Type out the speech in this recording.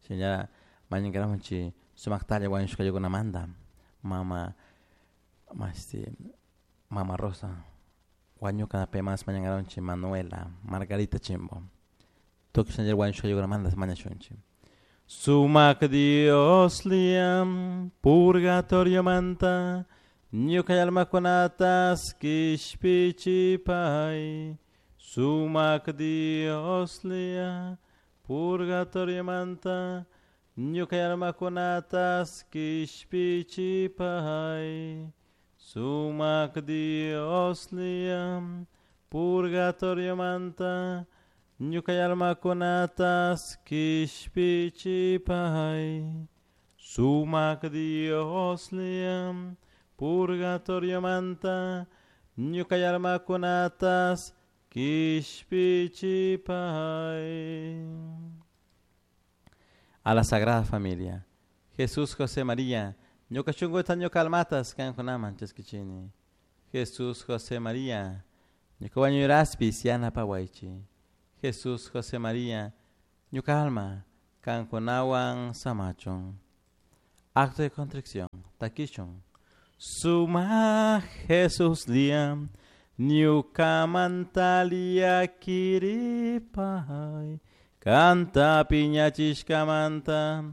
Shinallara mañankarahunchik sumaktalla wañushka ayllunkunamanta mama mashti mama Rosa wañuka paymantash mañankarahunchik Manuela Margarita Chimbo tukuy shinallara wañushka ayllunkunamanta mañashunchik. Sumak Dioslla purgatoriomanta ñuka almakunatas kishpichipay. Sumak Dioslla purgatoriomanta ñuka almakunatas kishpichipay. Sumak Dioslla purgatoriomanta ñuka almakunatas kishpichipay. Sumak Dioslla purgatoriomanta ñuka almakunatas kishpichipay. A la Sagrada Familia. Jesús, José, María, ñuka shunkuta ñuka almatas kankunaman chaskichini. Jesús, José, María, ñuka wañuyraspis yanapawaychik. Jesús, José, María, ñuka alma kankunawan samachun. Acto de contrición, takishun. Sumak Jesuslla, ñukamanta llaquiripay, kanta piñachishkamanta.